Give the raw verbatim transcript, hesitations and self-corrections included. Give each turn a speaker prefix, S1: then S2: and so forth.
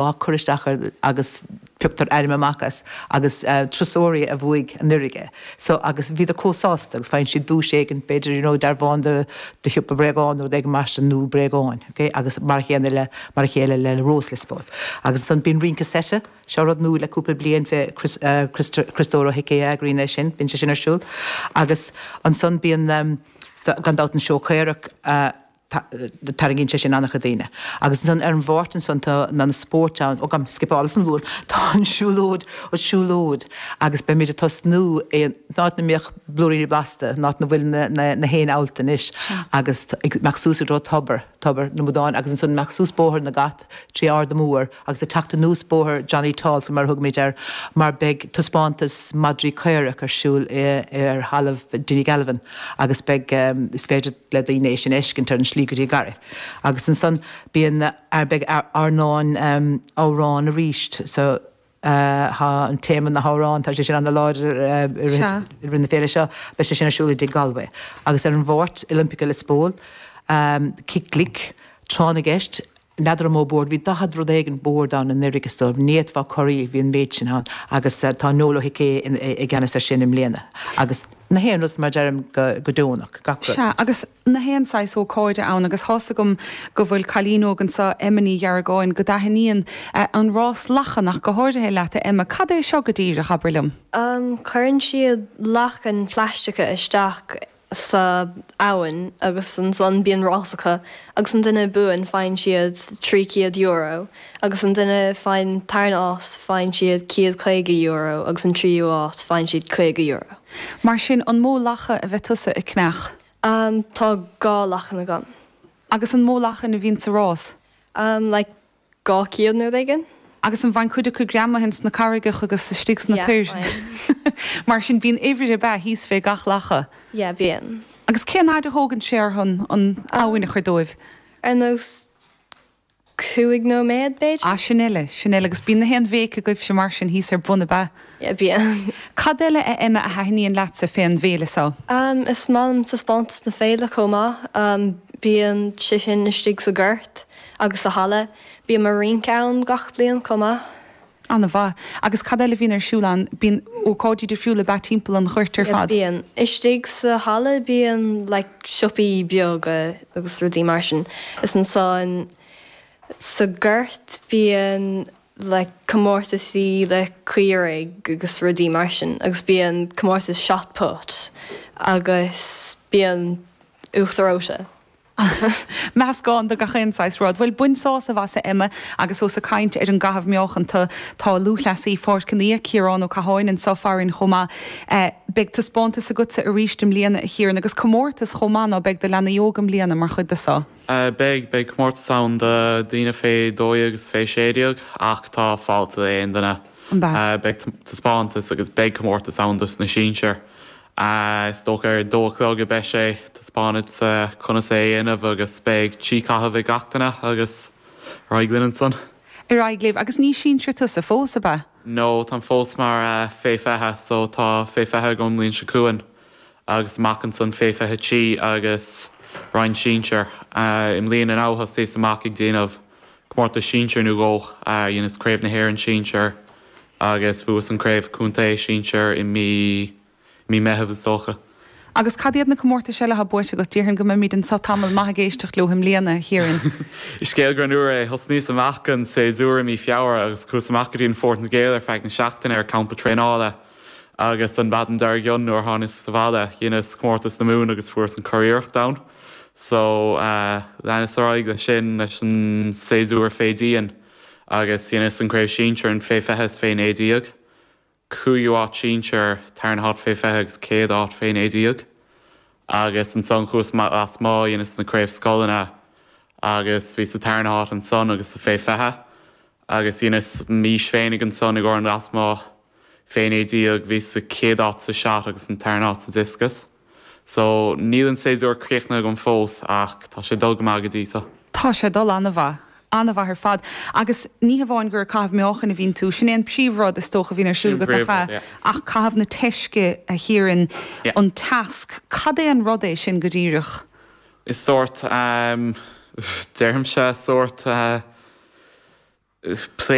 S1: Á cur isteach agus pioctar ainm amach as agus turasóirí a bhuaigh anuraidh é. So agus bhíodar chomh sásta agus faigheann siad duais éigin b'fhéidir you know dearbhán de de shiopa bréagán nó rud éigin mar sin nó bréagáin, ok? Agus mar a chéanna le mar a chéile le Rós Liospóil. Agus ansan bíonn rince seite, seo rud nua le cúpla bliain fé Chris Criostóir Ó hIcí a eagraíonn é sin, bíonn sé sin ar siúl. Agus ansan bíonn gan dabht an seó caorach, tarraingíonn sé sin an-chuid daoine. Agus ansan ar an Mháirt ansan tá na spóirt ann, ó gabh mo scipeáil as an Luan, tá an siúlóid, an siúlóid agus beimid ag tosnú in áit na mbíodh Blúiríní Blasta, in áit na bhfuil na, na, na héin allta anois agus ag imeacht suas i dtreo tobar, tobar na mBradán agus ansan imeacht suas Bóthar na gCat trí Ard an Mór agus ag teacht anuas Bóthar Johnny Tall faoi mar a thugaimid air mar beidh taispeántas madraí caorach ar siúl i, ar thalamh Dinny Galvin agus beidh, is féidir le daoine é sin a fheiscint ar an slí go dtí Garraí. Agus ansan bíonn, beidh airneán amhrán arís so tá an téama na hamhráin, tá sé sin ana-láidir i rith na féile seo, beidh sé sin ar siúl i dTigh Galway. Agus ar an Mháirt, Olympica Liospóil, Cic Glic, Tráth na gCeist, N'fheadar an mó bord, bhí daichead rud éigin bord ann anuraidh is dóigh, ní fhéadfá corraí, bhí an méid sin ann agus tá Noel Ó hIcí i gceannas ar sin i mbliana. Agus na haon rud, mar a deirim, go deonach, gach rud.
S2: Sea, agus na haon saghas ócáide ann agus tá's agam go bhfuil cailín óg anseo, Emma Ní Ghearragáin, go dtaitníonn an rás lachan ach go háirithe leat, a Emma. Cad é seo go díreach, abair liom?
S3: Cuireann siad lachain phlaisteacha isteach sa abhainn agus ansan bíonn rás acu agus an duine a buann faigheann siad trí chéad euro agus an duine faigheann tarna áit faigheann siad céad caoga euro agus an tríú áit faigheann siad caoga euro.
S2: Mar sin, an mó lacha a bheidh tusa ag cneach?
S3: Tá dhá lachan agam.
S2: Agus an mó lachan a bhíonn sa rás?
S3: Like dhá chéad nó rud éigin.
S2: Agus an bhfaigheann cuid acu greamaithe ins na carraigeacha agus istigh sna
S3: Yeah,
S2: toir?
S3: faigheann.
S2: Mar sin bíonn uimhir ab ea thíos fé gach lacha?
S3: Yeah, bíonn.
S2: Agus cén fhaid a thógann sé orthu an abhainn a chur dóibh?
S3: Ar nós cúig nóiméad, b'fhéidir.
S2: Ah, sin eile, sin eile. Agus bíonn na haon bhéic agaibhse mar sin thíos ar bun, ab ea?
S3: Yeah, bíonn.
S2: Cad eile, a Emma, a thaitníonn leatsa fén bhféile so?
S3: Is maith liom taispeántas na féile chomh maith. Bíonn sé sin istigh sa ghort agus sa halla. Bíonn mo rince ann gach bliain chomh maith.
S2: An-mhaith. Agus cad eile a bhíonn ar siúl ann? Bíonn ócáidí difriúla ab ea timpeall an ghoirt ar
S3: Yeah,
S2: fad?
S3: bíonn. Istigh sa halla bíonn like siopaí beaga agus rudaí mar sin. Is ansan sa ghort bíonn like comórtasaí le caoirigh agus rudaí mar sin agus bíonn comórtas shot put agus bíonn uachtar reoite.
S2: Meascán de gach aon saghas rud. Bhuel, bain sásamh as, a Emma, agus ós ag caint ar an gcaitheamh meáchain tá, tá lúthchleasaí Pháirc an Fhia, Ciarán Ó Catháin, anseo farainn chomh maith. Beidh taispeántas agatsa arís i mbliana, a Chiaráin, agus comórtas chomh maith, ná beidh, do leanaí óga i mbliana mar chuid de so?
S4: Beidh, beidh comórtas ann do daoine fé dó dhéag agus fé sé déag ach tá fáilte aon duine.
S2: An bea?
S4: Beidh taispeántas agus beidh comórtas ann dos na sinsir. Is dócha ar a dó a chlog a beidh sé. Taispeánfad conas é a dhéanamh agus beidh trí caitheamh ag gach duine agus ar aghaidh linn ansan.
S2: Ar aghaidh libh. Agus ní sinsear tusa fós, ab ea?
S4: No, táim fós mar fé fiche, so tá fé fiche agam an mbliain seo chugainn agus amach ansan fé fiche trí agus roinn sinsir. I mbliana now thosaíos amach ag déanamh comórtas sinsir nó dhó, dheineas Craobh na hÉireann sinsir agus bhuas an Craobh Contae sinsir i mí mí Meitheamh is dócha.
S2: Agus cad iad na comórtais eile atá buaite agat? Déarfainn go mbeimid anseo tamall maith ag éisteacht leo i mbliana, a Chiaráin.
S4: Is scéal greannmhar é. Thosnaíos amach an séasúr i mí Feabhra agus chuas amach go dtí an Phortaingéil ar feadh na seachtaine ar campa traenála agus an mhaidin dár gcionn nuair a tháinig sa bhaile dheineas comórtas na Mumhan agus fuaireas an curiarracht ann. So leanas ar aghaidh leis sin leis an séasúr fé dhíon agus dheineas an craobh sinsir an fé fiche is fé naoi déag. cúigiú áit sinsir, tarna háit fé fiche agus céad áit fé naoi déag. Agus ansan chuas lasmuigh, dheineas na craobh scoileanna agus bhíos sa tarna háit ansan agus sa fé fiche. Agus dheineas m'aois féinig ansan i gcomhair an lasmuigh fé naoi déag, bhíos sa chéad áit sa shot agus an tarna háit sa discus. So, níl an séasúr críochnaithe agam fós ach tá sé ag dul go maith go dtí so.
S2: Tá sé ag dul an-mhaith. An-mhaith ar fad. Agus ní hamháin gur ag caitheamh meáchain a bhíonn tú, sin é an príomhrud is dócha a bhíonn ar siúl
S4: Sin
S2: agat, nach
S4: príomhrud,
S2: ea?
S4: yeah.
S2: Ach caitheamh na teisce, a Chiaráin,
S4: Yeah.
S2: an teasc, cad é an rud é sin go díreach?
S4: Is sórt, ehm, deirimse, sórt, eh, plé